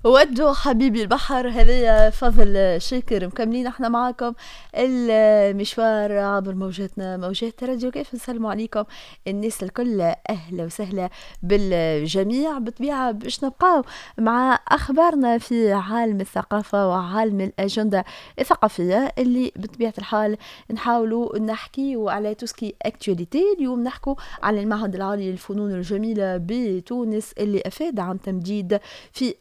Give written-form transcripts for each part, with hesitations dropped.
ودوا حبيبي البحر، هذه فضل شاكر. مكملين احنا معاكم المشوار عبر موجاتنا، موجات راديو كيف. نسلموا عليكم الناس الكل، اهلا وسهلا بالجميع. بطبيعة باش نبقاو مع اخبارنا في عالم الثقافة وعالم الاجندة الثقافية اللي بطبيعة الحال نحاولوا نحكيو على tout ce qui est actualité. اليوم نحكوا على المعهد العالي للفنون الجميلة بتونس اللي افاد عن تمديد في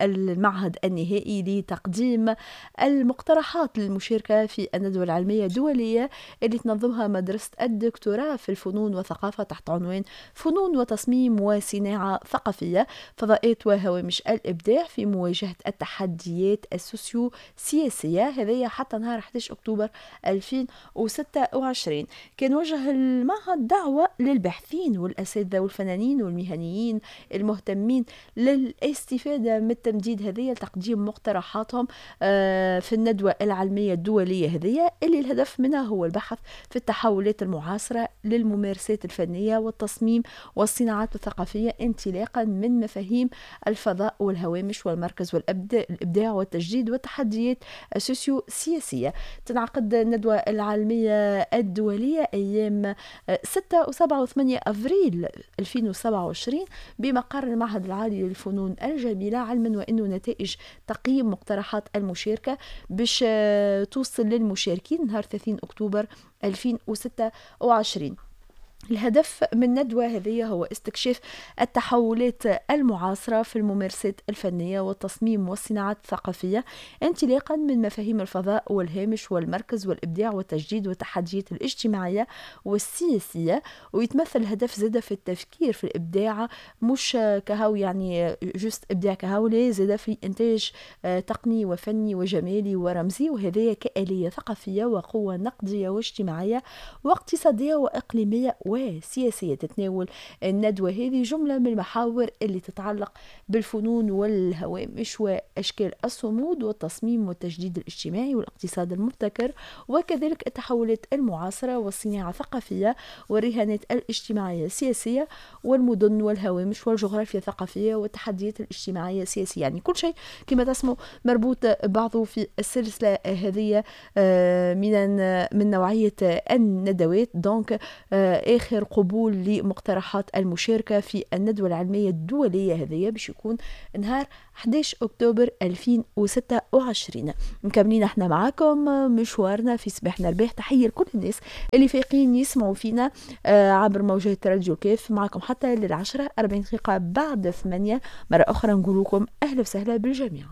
المعهد النهائي لتقديم المقترحات للمشاركة في الندوة العلمية الدولية اللي تنظمها مدرسة الدكتوراه في الفنون والثقافة تحت عنوان فنون وتصميم وصناعة ثقافية، فضاءات وهوامش الإبداع في مواجهة التحديات السوسيو سياسية، هذه حتى نهار 11 أكتوبر 2026. كان وجه المعهد دعوة للباحثين والأساتذة والفنانين والمهنيين المهتمين للاستفادة من التمديد هذه لتقديم مقترحاتهم في الندوة العلمية الدولية هذه اللي الهدف منها هو البحث في التحولات المعاصرة للممارسات الفنية والتصميم والصناعات الثقافية انطلاقا من مفاهيم الفضاء والهوامش والمركز والإبداع والتجديد والتحديات السوسيو سياسية. تنعقد الندوة العالمية الدولية أيام 6 و7 و8 أفريل 2027 بمقر المعهد العالي للفنون الجميلة، علما وأنه نتائج تقييم مقترحات المشاركة باش توصل للمشاركين نهار 30 أكتوبر 2026. الهدف من الندوة هذه هو استكشاف التحولات المعاصرة في الممارسات الفنية والتصميم والصناعات الثقافية انطلاقا من مفاهيم الفضاء والهامش والمركز والإبداع والتجديد والتحديات الاجتماعية والسياسية. ويتمثل الهدف زادة في التفكير في الإبداع مش كهو يعني juste إبداع كهو، لا، زادة في إنتاج تقني وفني وجمالي ورمزي، وهذا كآلية ثقافية وقوة نقدية واجتماعية واقتصادية وإقليمية وسياسية. تتناول الندوة هذه جملة من المحاور اللي تتعلق بالفنون والهوامش وأشكال الصمود والتصميم والتجديد الاجتماعي والاقتصاد المبتكر، وكذلك التحولات المعاصرة والصناعة الثقافية والرهانات الاجتماعية السياسية والمدن والهوامش والجغرافيا الثقافية والتحديات الاجتماعية السياسية. يعني كل شيء كما تسمو مربوط بعضه في السلسلة هذه من نوعية الندوات. donc آخر قبول لمقترحات المشاركة في الندوة العلمية الدولية هذه باش يكون نهار 11 أكتوبر 2026. مكملين احنا معاكم مشوارنا في صباحنا الباح. تحية لكل الناس اللي فايقين يسمعوا فينا عبر موجات راديو كيف، معكم حتى لل10:40 بعد 8. مرة أخرى نقول لكم أهلا وسهلا بالجميع.